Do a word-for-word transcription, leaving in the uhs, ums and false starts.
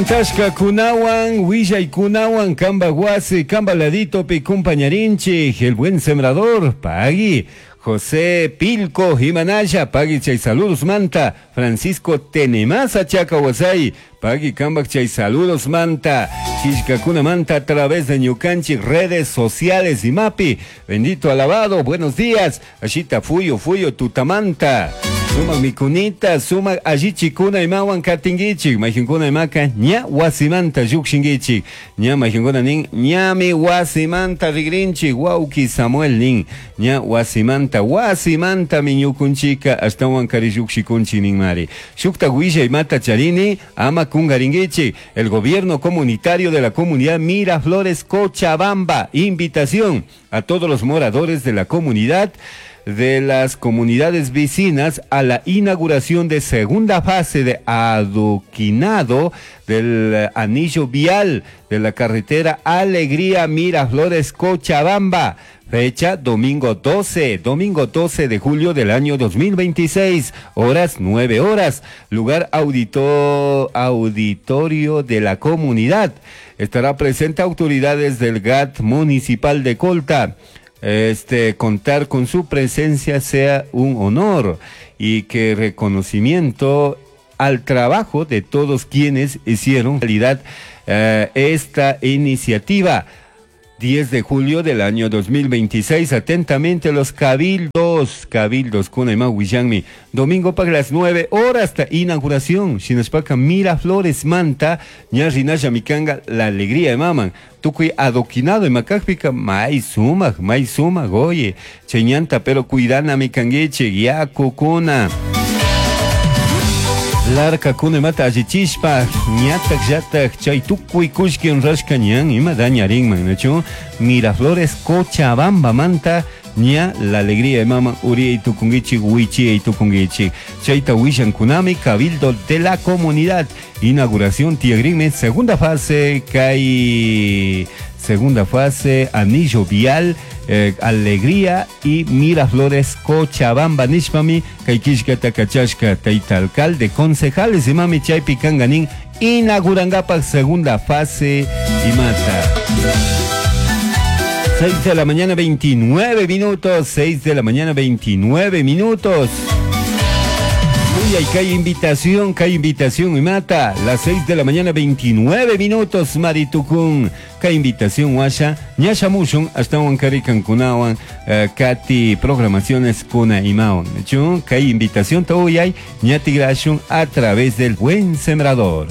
Tashka kunawan, willay kunawan, kamba wasi, kamba laditopi kumpañarinchik, el buen sembrador, pagui. José Pilco Jimanaya, pagui chay saludos manta, Francisco Tenemasa Chacawasay, pagui kambak chay saludos manta, Killkakuna manta a través de ñukanchik redes sociales y mapi, bendito alabado, buenos días, ashita fuyo fuyo tutamanta. Sumak mikunita, sumak allichikuna imawan katinkichik, mayqinkuna imaka ña wasimanta llukshinkichik, ña mayqinkuna nin ñami wasimanta rigrinchik, wawki Samuel nin ña wasimanta, wasimanta ñukunchika ashtawan kari llukshikunchik ninmari. Shukta willa imata charini, ama kungarinkichik, el gobierno comunitario de la comunidad Miraflores Cochabamba, invitación a todos los moradores de la comunidad de las comunidades vecinas a la inauguración de segunda fase de adoquinado del anillo vial de la carretera Alegría Miraflores Cochabamba. Fecha domingo doce, domingo doce de julio del año dos mil veintiséis, horas nueve horas, lugar audito-, auditorio de la comunidad. Estará presente autoridades del G A T municipal de Colta. Este, contar con su presencia sea un honor y que reconocimiento al trabajo de todos quienes hicieron realidad, eh, esta iniciativa. diez de julio del año dos mil veintiséis, atentamente los cabildos, cabildos kuna ima willanmi, domingo para las nueve horas hasta inauguración, Shinaspaka Miraflores Manta, ña rinalla mikanga, la alegría de maman, tukuy adoquinado imakajpika, may sumak, may sumak, oye, cheñanta, pero cuidana mikanguiche, yakukuna. Larka kuna imata allichishpa, ñatak llatak chay tukuy kullki rashka ñan ima dañarinman, ¿no? Miraflores Cochabamba manta, ña la alegría de mama uriay tukunguichi, wichiay tukunguichi. Chayta willan kunami, cabildo de la comunidad. Inauguración Tiagrime, segunda fase, kay segunda fase, anillo vial, eh, Alegría y Miraflores Cochabamba nishpami, kay killkata kachashka tayta alcalde, concejales y mami chaypi kanganin, inaugurangapak segunda fase y mata. seis de la mañana veintinueve minutos, seis de la mañana veintinueve minutos. Uy, hay que hay invitación, que hay invitación y mata. Las seis de la mañana veintinueve minutos, Maritucún. Que hay invitación, guasha. Ñasha mushun, hasta un caricancunawan, eh, Katy, programaciones kuna imaon. Chun, que hay invitación, todo y hay ñatigrashun a través del Buen Sembrador.